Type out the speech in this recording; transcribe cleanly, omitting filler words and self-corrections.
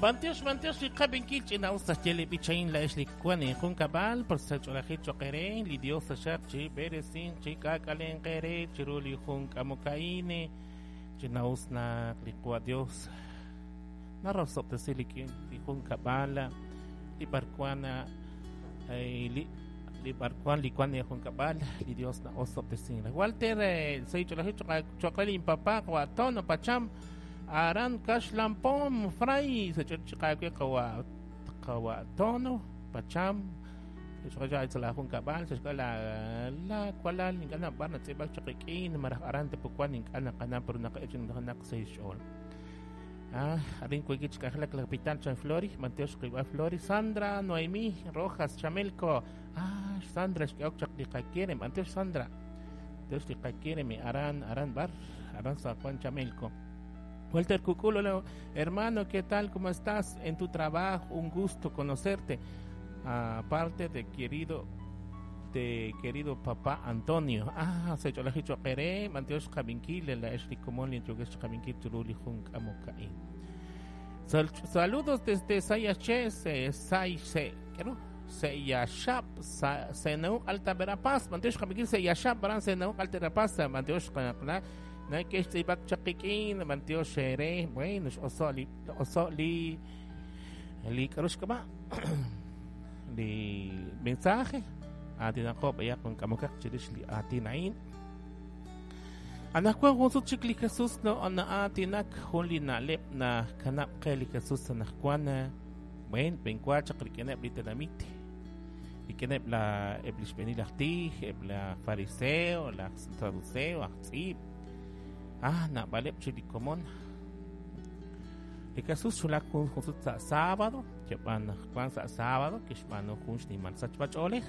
B'antiox, b'antiox li qab'inkil ch'ina'us naxye li b'ich a'in laa'ex li wan injunkab'al por sa' ch'oolejil cho'q eere li Dios taxaq chi b'eresinq chi k'aak'alenq eere chiru li jun k'amok a'in ch'ina'us naq li Qawa' Dios narosob'tesi li li junkab'al li b'arwan li li b'arwan li wan junkab'al li Dios na'osob'tesin Walter sa' ch'oolejil cho'q re linpapa Qawa' Tono Pacham Aran Kaxlampom Fray sa' ch'och chiqaawe qawa qawa Tono Pacham xqacha sa' la junkab'al sa' xk'al la la walal ink'a' nab'ar natz'iib'ak chaq rik'in maraj aran tepuwan ink'a' naqana pero naqa'ech naq sa' xch'ool. Ah, arin kuiki chik'anjelak la kapital Chan Flori, Mantiox Qib'a Flori, Sandra Noemí Rojas Chamelco. Ah, Sandra xk'eok chaq li qakiere, Mantiox Sandra. Tiox li qakiere mi aran aran bar, aran San Juan Chamelco. Walter Cuculo, hola, hermano, ¿qué tal? ¿Cómo estás en tu trabajo? Un gusto conocerte. Aparte de querido de querido papá Antonio. Ah, se ch'olaji choqere, Mantiox qabinkil, la ex li komon li yokex qabinkil chiru li jun k'amok a'in. Saludos desde Sayache, se Se, ¿qué no? Seyashap, Seneu Alta Verapaz, Mantiox qabinkil Seyashap, baran Seneu Alta Verapaz, Mantiox qanaqna, na kex tz'ib'ak chaqikin, Mantiox ere, bueno, oso li oso li li k'aru xk'ab'a' li mensaje aatinaqo b'ayaq jun k'amokaq chirix li aatin a'in. Anaqwan jun sut chik li Jesus no na'aatinak jun li na'leb' nakanab' qe li Jesus anaqwan bueno b'enwa chaq rik'ineb' li tenamit rik'ineb' la eb' li xb'eenil aj tij eb' la fariseo laj saduceo aj tz'iib' ah naab'aleb' chi li komon. Li Jesus xwulak jun sut sa' sábado keb'an anaqwan sa' sábado kixb'aanu jun xnimal sachb'ach'oolej.